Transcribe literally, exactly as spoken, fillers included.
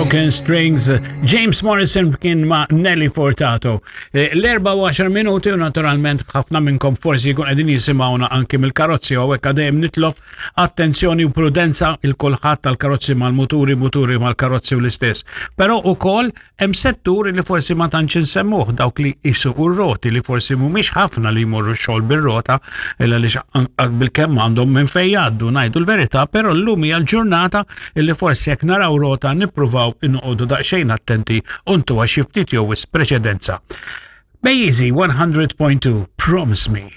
Broken Strings, James Morrison kien ma' Nelly Furtado. Eh, L-erba u għaxar minuti u naturalment ħafna minnkom forsi jkun qegħdin jisimgħuna anki mill-karozzi u hekk dejjem nitlob attenzjoni u prudenza lil kulħadd tal-karozzi mal-muturi, muturi mal-karozzi u l-istess. Però ukoll hemm settur li forsi ma tantx insemmuh, dawk li jisuqu r-roti, li forsi mhumiex ħafna li jmorru x-xogħol bir-rota illa li bil-kemm għandhom minn fejn jgħaddu, ngħidu l-verità, però llum hija l-ġurnata illi forsi jekk naraw rota nippruvaw inqogħdu daqsxejn attenti u ntuha xi ftit jew wisq preċedenza. Bejjiżi one hundred point two, Promise Me.